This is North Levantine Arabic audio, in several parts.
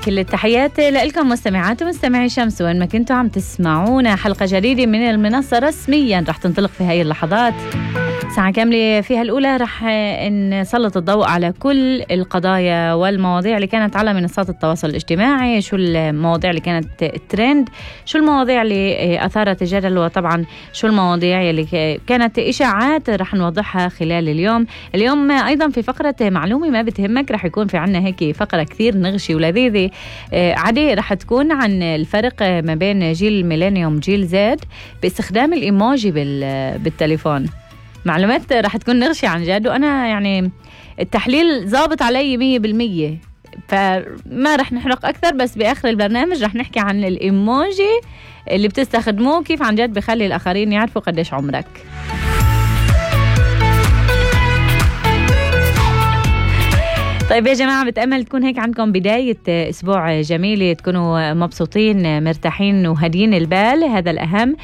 كل التحيات لكم مستمعات ومستمعي شمس وين ما كنتوا عم تسمعونا. حلقة جديدة من المنصة رسميا رح تنطلق في هاي اللحظات. ساعة كاملة فيها الأولى رح نسلط الضوء على كل القضايا والمواضيع اللي كانت على منصات التواصل الاجتماعي، شو المواضيع اللي كانت ترند، شو المواضيع اللي أثارت الجدل، وطبعا شو المواضيع اللي كانت إشاعات رح نوضحها خلال اليوم أيضا في فقرة معلومة ما بتهمك. رح يكون في عنا هيك فقرة كثير نغشي ولذيذة عادي، رح تكون عن الفرق ما بين جيل الميلينيوم جيل زد باستخدام الإيموجي بالتليفون. معلومات رح تكون نغشي عن جد، وأنا يعني التحليل ضابط علي 100%، فما رح نحرق أكثر. بس بآخر البرنامج رح نحكي عن الإيموجي اللي بتستخدموه كيف عن جد بخلي الآخرين يعرفوا قديش عمرك. طيب يا جماعة، بتأمل تكون هيك عندكم بداية أسبوع جميلة، تكونوا مبسوطين مرتاحين وهدين البال، هذا الأهم.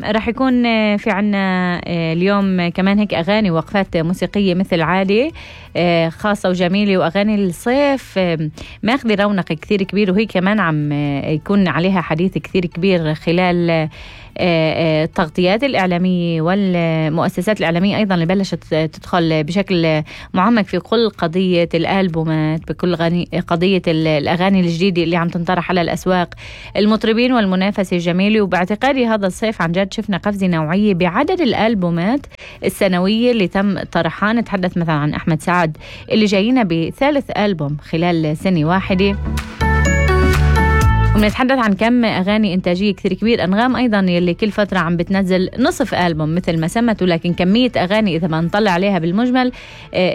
رح يكون في عنا اليوم كمان هيك أغاني وقفات موسيقية مثل عادي خاصة وجميلة، وأغاني الصيف ماخذ رونق كثير كبير، وهي كمان عم يكون عليها حديث كثير كبير خلال التغطيات الإعلامية والمؤسسات الإعلامية أيضا اللي بلشت تدخل بشكل معمق في كل قضية الألبومات، بكل قضية الأغاني الجديدة اللي عم تنطرح على الأسواق، المطربين والمنافسة الجميلة. وباعتقادي هذا الصيف عن جد شفنا قفزة نوعية بعدد الألبومات السنوية اللي تم طرحها. نتحدث مثلا عن أحمد سعد اللي جاينا بثالث ألبوم خلال سنة واحدة، ونتحدث عن كم أغاني إنتاجية كثير كبير. أنغام أيضا يلي كل فترة عم بتنزل نصف ألبوم مثل ما سمت، ولكن كمية أغاني إذا ما نطلع عليها بالمجمل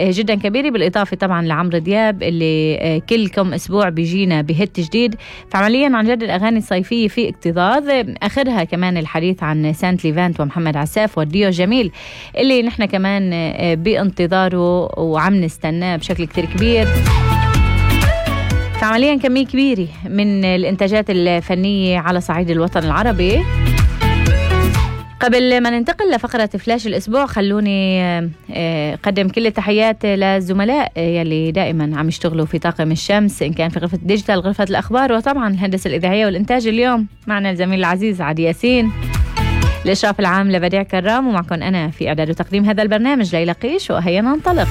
جدا كبيرة. بالإضافة طبعا لعمرو دياب اللي كل كم أسبوع بيجينا بهت جديد. فعمليا عن جد الأغاني الصيفية في اكتظاظ، آخرها كمان الحديث عن سانت ليفانت ومحمد عساف والديو جميل اللي نحن كمان بانتظاره وعم نستناه بشكل كثير كبير. فعمليا كمية كبيرة من الإنتاجات الفنية على صعيد الوطن العربي. قبل ما ننتقل لفقرة فلاش الأسبوع، خلوني قدم كل التحيات للزملاء يلي دائما عم يشتغلوا في طاقم الشمس، إن كان في غرفة ديجيتال، غرفة الأخبار، وطبعا الهندسة الإذاعية والإنتاج. اليوم معنا الزميل العزيز عادي ياسين، الإشراف العام لبديع كرام، ومعكم أنا في إعداد وتقديم هذا البرنامج ليلى قيش. وهيا ننطلق.